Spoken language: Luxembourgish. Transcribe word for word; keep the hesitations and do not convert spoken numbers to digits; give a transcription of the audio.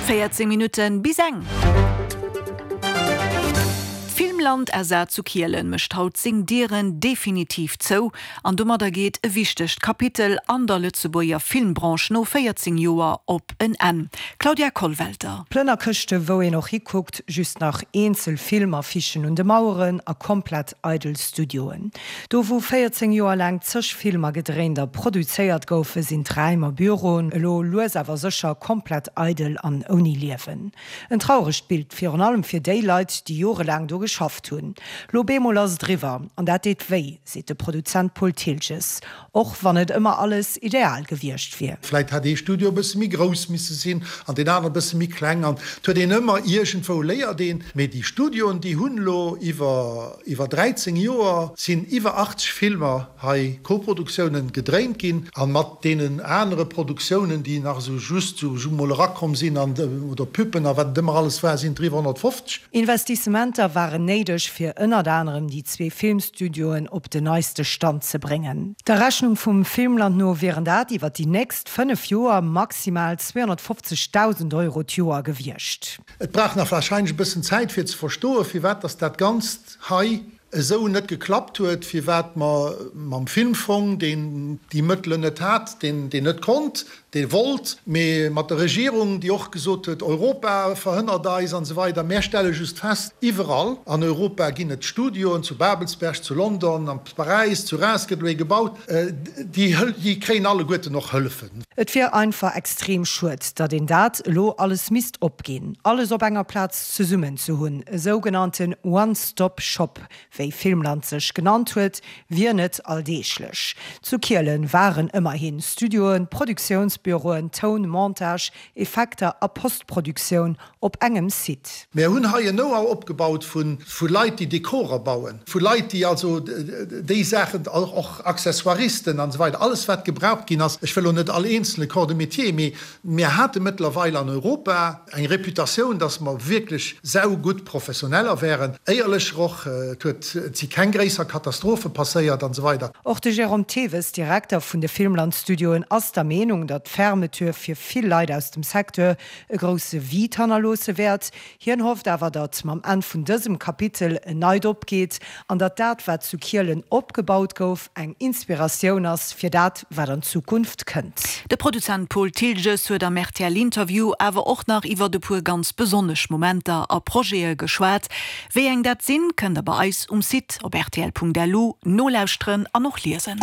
Véierzéng Minutten bis eng. D'Filmland S A zu Kielen mécht haut seng Dieren definitiv zou an domadder geet e wichtegt Kapitel an der Lëtzebuerger Filmbranche no véierzéng Joer op en Enn. Claudia Kollwelter. Plënnerkëschte wou een och hikuckt, just nach eenzel Filmaffichen un de Maueren a komplett eidel Studioen. Do wou véierzéng Joer laang zeg Filmer gedréint a produzéiert goufen, sinn d'Raim a Büroen elo lues awer sécher komplett eidel an ouni Liewen. En trauregt Bild, virun allem fir déi Leit, déi jorelaang do geschafft hunn. Lo bemol ass et eriwwer an dat deet wéi, seet de Produzent Paul Thiltges. Och wann net ëmmer alles ideal gewiescht wier. Vläit hätt ee Studio e bësse méi grouss misse sinn an deen anere e bësse méi kleng an et huet een ëmmer iergendwou léiert een. Mee déi Studioen, déi hunn elo iwwer iwwer dräizéng Joer sinn iwwer achtzeg Filmer hei, Koproduktiounen, gedréint ginn a mat deenen anere Produktiounen, déi nach esou just esou mol erakomm sinn an oder Pubben a wat et ëmmer alles war, sinn et eriwwer honnertfofzeg. Investissementer waren néideg, fir ënnert anerem déi zwee Filmstudioen op den neiste Stand ze bréngen. Der Rechnung vum Filmland no wieren dat iwwer déi nächst fënnef Joer maximal zweehonnertfofzegdausend Euro d'Joer gewiescht. Et brauch nach warscheinlech e bëssen Zäit fir ze verstoen, firwat dass dat Ganzt hei esou net geklappt huet, firwat mer mam Filmfong, deen déi Mëttelen net hat, deen net konnt, dee wollt, mee mat der Regierung, déi och gesot huet, Europa verhënnert eis an esou weider. Mär stelle just fest, iwwerall an Europa ginn et Studioen, zu Babelsberg, zu London, am Paräis, zu Reims gëtt elo ee gebaut, déi kréien alleguerten och Hëllefen. Et wier einfach extrem schued, datt een dat elo alles misst opginn. Alles op enger Plaz zesummen ze hunn, e sougenannten One-Stop-Shop, wéi Filmland sech genannt huet, wier net alldeeglech. Zu Kielen waren ëmmerhin Studioen, Produktiounsbüroen, Toun, Montage, Effekter a Postproduktioun op engem Site. Mär hunn hei en Know-how opgebaut vu Leit, déi Dekorer bauen, vu Leit, déi also déi Saachen, och Accessoiristen an esou weider, alles wat gebraucht ginn ass. Ech wëll elo net all eenzele Corps de métier, mee mir hate mëttlerweil an Europa eng Reputatioun, dass mer wierklech saugutt Professioneller wären, éierlecher och. Et huet, et si keng gréisser Katastrophe passéiert an esou weider. Och de Jérôme Theves, Direkter vun de Filmland-Studioen, ass der Meenung, datt d'Fermeture fir vill Leit aus dem Secteur e grousse Vide hannerloosse wäert. Hien hofft awer, datt mam Enn vun dësem Kapitel en neit opgeet an datt dat, wat zu Kielen opgebaut gouf, eng Inspiratioun ass fir dat, wat an Zukunft kënnt. De Produzent Paul Thiltges huet am R T L-Interview awer och nach iwwert e puer ganz besonnesch Momenter a Projete geschwat. Wéi eng dat sinn, kënnt der bei eis um Site op rtl Punkt lu nolauschteren an och liesen.